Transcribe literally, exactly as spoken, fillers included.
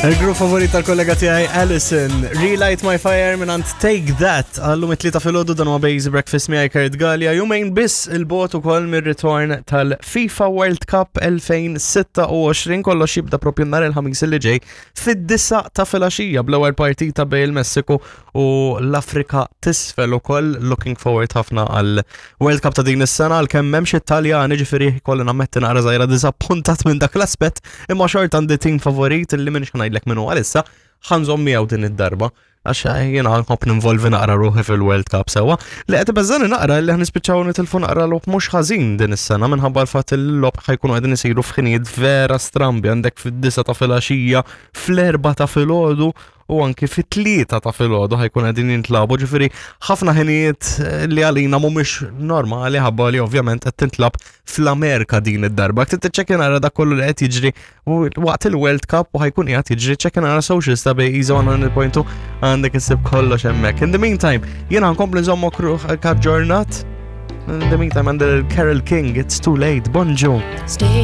Il-grupp favorit tal-kollega tiegħi Alison, Relight My Fire minn Take That, għallum it-tlieta filgħodu, dan huwa Basic Breakfast miegħi Kurt Gallia, jumejn biss 'il bogħod ukoll mir-ritorn tal-FIFA World Cup elfejn u sitta u għoxrin. Kollox jibda propju nhar il-Ħamis li ġej fid-disgħa ta' filgħaxija bl-ewwel partita bejn il-Messiku u l-Afrika t'Isfel ukoll. Looking forward ħafna għal World Cup ta' din is-sena, għalkemm m'hemmx Italjani, ġifieri kolli nammetti naqra żgħira diżappuntat minn dak l-aspett, imma xorta għandi team favorit li minn ngħidlek minnu għalissa, ħa nżomm miegħu din id-darba għax jiena nħobb ninvolvi naqra ruħi fil-World Cup sewa. Li qed beżani naqra li ħa nispiċċaw nitilfu naqra logħob mhux ħażin din is-sena minħabba l-fatt il-logħob ħa jkunu qegħdin isiru f'ħinijiet vera strambi: għandek fid-disgħa ta' filgħaxija, fl-erbgħa ta' filgħodu u anki fit-tlieta ta' filgħodu ħa jkun qegħdin jintlagħbu, ġifieri ħafna ħinijiet li għalina mhumiex normali ħabba li ovvjament qed tintlagħab fl-Amerika din id-darba. Trid tiċċekkja nara dak kollu li qed jiġri waqt il-World Cup u ħa jkun qiegħed jiġri, ċċekkja nara socials ta' Bejza one hundred point two, għandek issib kollox hemmhekk. In the meantime, jiena nkompli nżommok aġġornat. In the meantime, għandek Carole King, "It's Too Late". Bonġu. Stay